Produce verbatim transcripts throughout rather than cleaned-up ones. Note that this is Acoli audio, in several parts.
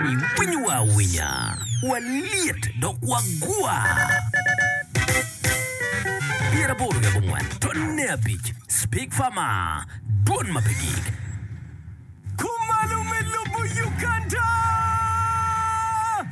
Iwinyowa awinya, walyet dok wagwa. Pyeraboro ki abongwen tonne abic Speak Farmer, dwon ma pe gik. Kumalo me lobo Uganda!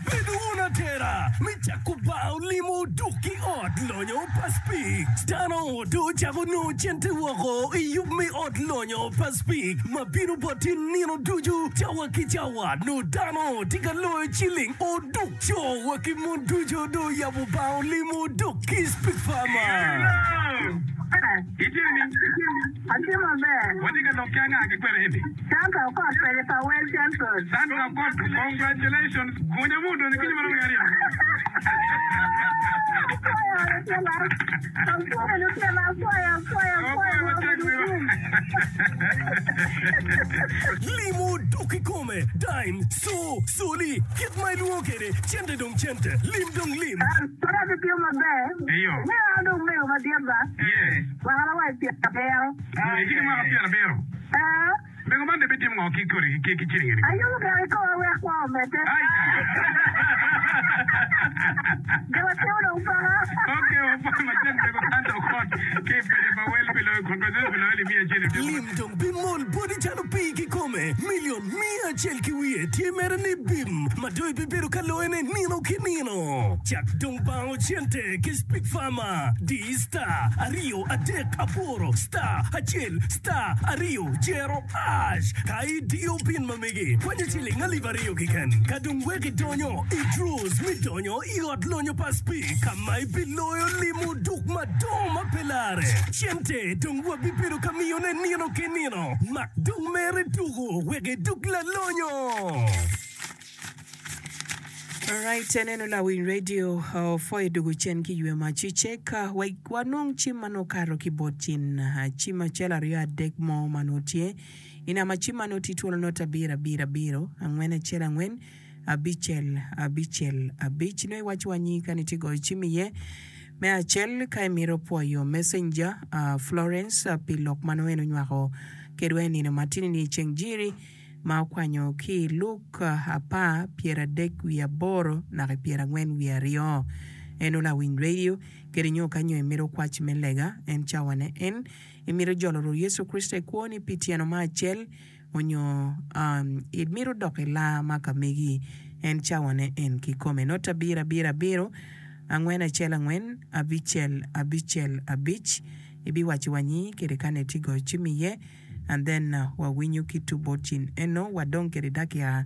Bedo wun atera me cako bar limo duk ki ot lonyo pa Speke. Dano do ocako nongo cente woko i yub me ot lonyo pa Speke ma bino boti nino ducu cawa ki cawa nongo dano tye ka loyo ciling oduk co wa ki mon ducu do oyabo bar limo duk ki Speak Farmer. Itye ni? Atye maber. Watye ka lok ki anga ki kwene eni? Sandra Okot pede pa Well Central. Sandra Okot, congratulations. Gunya mu donyo kinyi marom aryo. Apwoyo lutino. Apwoyo lutino, apwoyo, apwoyo, apwoyo. Apwoyo matek wiwa. Limo duk kikome, dime, so, soli, kit ma ilwongo kwede, cente dong cente, lim dong lim. Pud atye maber. Eyo. Me an dong mego madit ba. Yes. Mwaka wa pyero abiro. Itye ki mwaka pyero abiro. Eh. Mego man de bitimo ngo ki kodi ki ki ciling eni? Ayubo gari koma wek kwa omedde. Ai. Gima timo dong paka. Okay, wapwoyo matek mego Sandra Okot ki pede pa wel pi loyo congratulations pi loyo alip miya acel. Lim dong bimol boti calo pii kikome milion mia acel ki wiye tye mere ni bim ma dong ibibedo ka loyone nino ki nino. Cak dong bango cente ki Speak Farmer di star aryo adek aboro star acel star aryo jero hash ka idiyo pin ma megi kwanyo ciling alip aryo keken ka dong wek idonyo i draws mi donyo i ot lonyo pa Speak ka ma ibiloyo limo duk madongo ma pe lare. Cente dong wabibedo ka miyone nino ki nino mak dong mere tuko wek iduk lalonyo. Alright, eneno lawiny radio uh, foyo dugu cen ki ywe ma cicek uh, wek wanong cim ma nongo kato ki bot cin uh, cim acel aryo adek mo ma nongo tye i namba cim ma nongo tye twolo not abiro abiro abiro angwen acel angwen abicel abicel abic nongo iwaco wa nyi ka nitye goyo cim iye me acel ka imito pwoyo messenger uh, Florence uh, pi lok ma nongo en onywako kedwa i nino matini ni ceng jiri ma okwanyo ki Luk uh, apar pyeradek wiye aboro naka pyerangwen wiye aryo en olawiny radio kede nyo ka nyo imito kwac me lega en cawane en imito jolo Rwot Yecu Kricito i kwoni pi tyeno ma acel onyo um, imito dok i lar ma ka megi en cawane en kikome not abiro abiro abiro angwen acel angwen abicel abicel abic ibiwaco wanyi kede ka ne tye goyo cim iye and then uh, wawinyo ki tu bot cin eno wadong kede dakika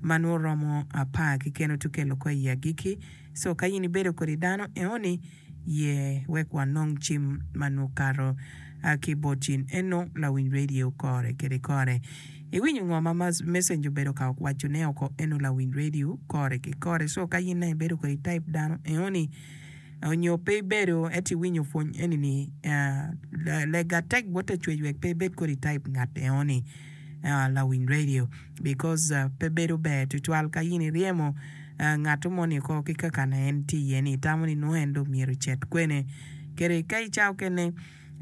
ma nwo romo apar keken otukelo ko i agiki so ka in ibedo kodi dano eoni ye wek wanong cim ma nwo kato uh, ki bot cin eno lawiny radio kore kede kore iwinyo ngo ma mas- message obedo ka wacone oko eno lawiny radio kore ki kore so ka in na ibedo kodi type dano eoni onyo pe ibedo eti iwinyo pwony eni ni uh, lega tek bot acwec wek pe ibed kodi type ngat eoni uh, lawiny radio because uh, pe bedo ber tutwal ka in iryemo uh, ngat moni oko ki kaka na en tye iye ni itamo ni nongo en dong myero ocet kwene kede ka icawa kene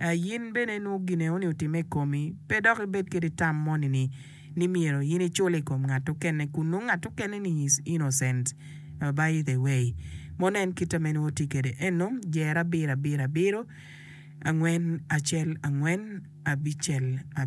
uh, yin bene nongo gin eoni otime i komi pe dok ibed kede tam moni ni ni myero in icul i kom ngat okene kun nongo ngat okene ni is innocent uh, by the way mono en kite ma nongo tye kede eno jer abiro abiro abiro angwen acel angwen abicel